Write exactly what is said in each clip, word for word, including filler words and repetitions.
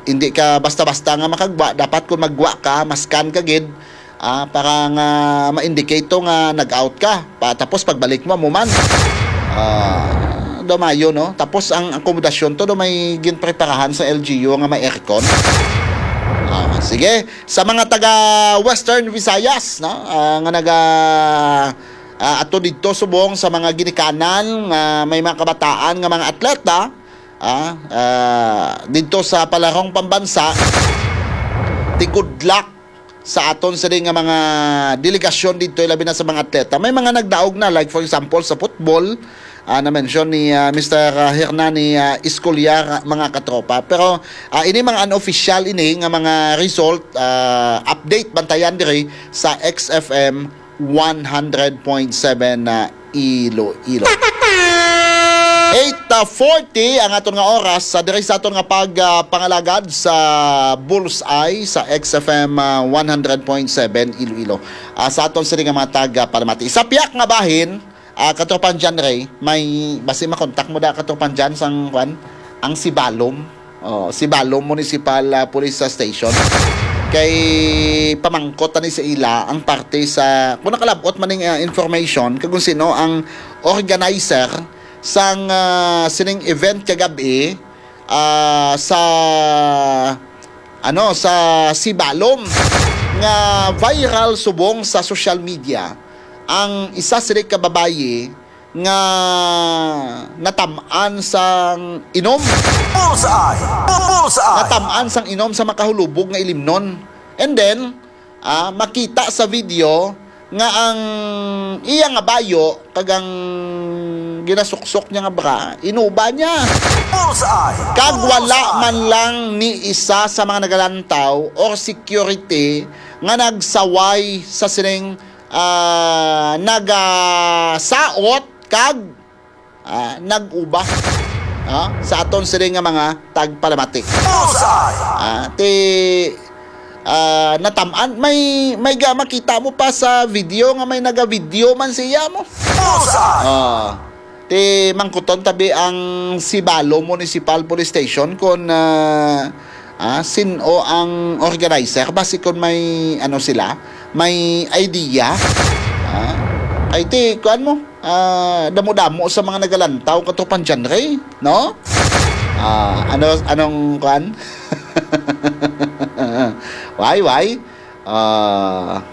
hindi ka basta-basta nga makagwa. Dapat kung magwa ka, ma-scan ka gid, ah, para nga ma-indicate to nga nag-out ka. Pa, tapos pagbalik mo, amo man. Ah, do maayo, no? Tapos ang akomodasyon to, do may ginpreparahan sa L G U nga may aircon. Ah, sige, sa mga taga Western Visayas, no? Ah, nga naga, ah, ato didto subong sa mga ginikanan nga may mga kabataan nga mga atleta, ah, ah, didto sa palarong pambansa, ti good luck sa aton sini nga mga delegasyon didto, labi na sa mga atleta. May mga nagdaog na, like for example sa football, ah, na-mention ni, ah, Mister Hernani, ah, Escolar, mga katropa. Pero, ah, ini mga unofficial ini nga mga result, ah, update, bantayan diri sa X F M one hundred point seven na Iloilo. Eight forty ang aton nga oras sa diri sa aton nga pag, ah, pangalagad sa Bullseye sa X F M, ah, one hundred point seven Iloilo. Ah, sa aton sini nga mga taga Palamati. Sa piyak nga bahin, ah, katropang John Ray, may basi makontak mo da katropang John sang kwan, ang Sibalom. Oh, Sibalom Municipal, ah, Police Station. Kay pamangkot ani sa ila ang parte sa, kung nakalabot man ning, ah, information, kag kung sino ang organizer sang, ah, sining event kagabi, ah, sa, ano, sa Sibalom nga viral subong sa social media ang isa sini ka babayi nga natam-an sang inom. Bullseye! Bullseye! Natam-an sang inom sa makahulubog nga ilimnon. And then, ah, makita sa video nga ang iya nga bayo kag ang ginasuksok niya nga bra, inuba niya. Bullseye! Kag wala Bullseye! man lang ni isa sa mga nagalantaw or security nga nagsaway sa sining, ah, nagasaot kag, ah, nag-uba, ah, sa aton sini nga mga tagpalamati. Bullseye! Ah, ti, ah, natam-an, may, may ga-, makita mo pa sa video nga may naga-video man siya mo. Bullseye! Ah, ti mangkuton tabi ang Sibalom Municipal Police Station kung, ah, ah, sin-o ang organizer, basi kung may, ano sila, may idea. Ah, ay ti, kuan mo, ah, damo-damo sa mga nagalantaw katropang John Ray, no? Ah, ano, anong kuan? Why, why? Ah,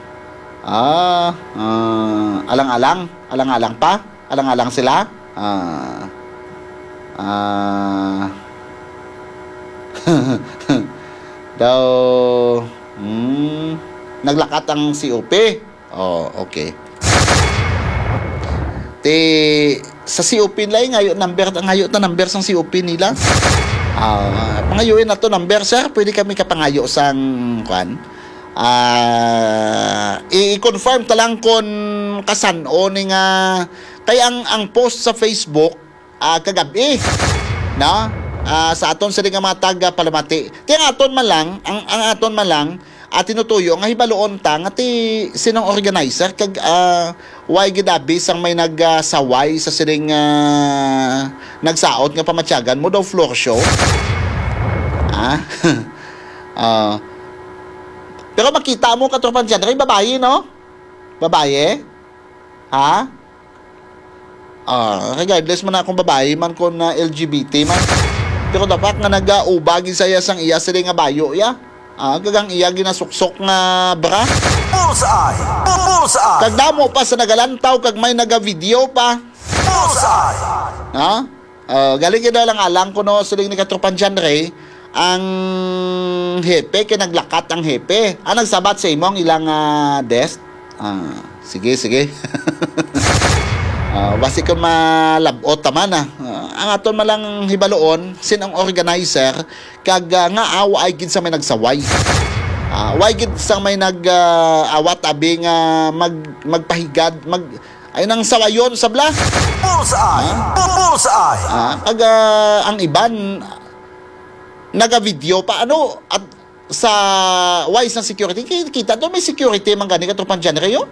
ah, ah, alang-alang, alang-alang pa, alang-alang sila. Ah, ah, daw, hmm, naglakat ang C O P. Oh, okay. Ti, sa C O P nila, eh, ngayo number, ngayo ta number sang C O P nila. Ah, pangayuin na to number, sir. Pwede kami kapangayo sang, kwan? Ah, i-, i-confirm ta lang kon kasan-o ni nga, kay ang, ang post sa Facebook, ah, kagabi, no? Ah, sa aton sini nga mga taga Palamati. Ti ang aton man lang, ang, ang aton man lang, ah, tinutuyo nga hibaluon ta nga ti sinong organizer kag, ah, why gid abi sang may nag, ah, saway sa sining, ah, nagsaot nga pamatyagan mo daw floor show? Ah? Ah. Pero makita mo, katropang John Ray, babayi, no? Babayi? Ha? Ah, regardless man na kung babayi man, kung, ah, L G B T man. Pero dapat nga nagauba gid sa iya sang iya sini nga bayo, ya. Ah, kag ang iya ginasuksok nga bra. Bullseye! Bullseye! Kag damo pa sa nagalantaw, kag may nagavideo pa. Bullseye! Ha? Ah, galing gid alang-alang kuno, siling ni katropang John Ray, ang hepe kay naglakat ang hepe. Ah, nagsabat sa imo ang ilang, ah, desk? Ah, sige, sige. Ah, basi kung malab-ot ta man, ah. Ah, ang aton man lang hibaluon, sin ang organizer, kag, ah, nga, ah, waay gid sa may nagsaway. Ah, waay gid sa may nag, ah, awat abi nga mag-, magpahigad, mag-, ay nang sawayon sabla. Bullseye! Ah? Bullseye! Ah, kag, ah, ang iban, nagavideo pa, ano, at sa wise ng security, ki-, kita to, may security man gani katropang John Ray, oh.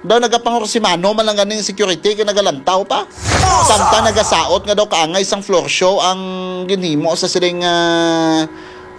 Daw nagapangursimano man lang ganing security kay nagalantaw pa. Bullseye! Samtang nagasaot nga daw kaangay sang floor show ang ginhimo sa siling, ah,